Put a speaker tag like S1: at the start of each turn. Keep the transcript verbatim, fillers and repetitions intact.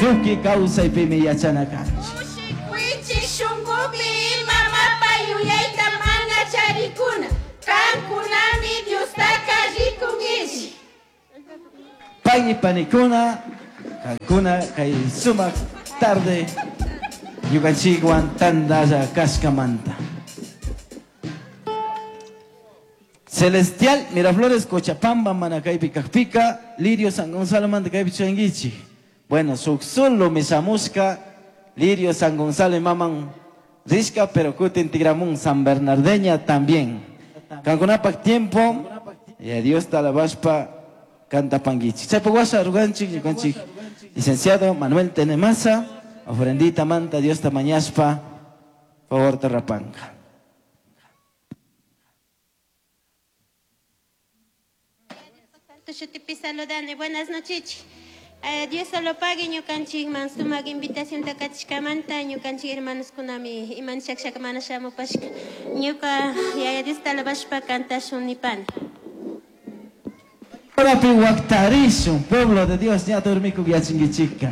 S1: Tuki kawsaypimi yachana kanchik.
S2: Kushikuychik shunkupi ima mapa yuyayta mana charikuna, kankunami Diostaka rikunkichik.
S1: Payni panikuna, kankuna kay sumak tarde ñukanchikwan tantalla kashkamanta. Celestial Miraflores Cochapamba mana kaypi kakpika, Lirio San Gonzalo manta kaypi chuyankichik. Bueno, suk solo misamushka Lirio San Gonzalo imaman rishka, pero kutin tigramun San Bernardeña también. Kankunapak tiempo, y a Dios alabashpa cantapanguichik. Chaypa washa ruganchik, ñukanchik licenciado Manuel Tenemaza, ofrendita manta Dios ta mañashpa, favor te rapanka.
S2: Shutipi saludane, buenas noches. Eh, Dios solo pague ñukanchik man sumak invitación takachishkamanta ñukanchik hermanos kunami iman shakshak mana shamupashka ñuka yaya Dios talabashpa kantashun nipani.
S1: Ahora pi waktarishun, pueblo de Dios, ña dormiku yachinkichika.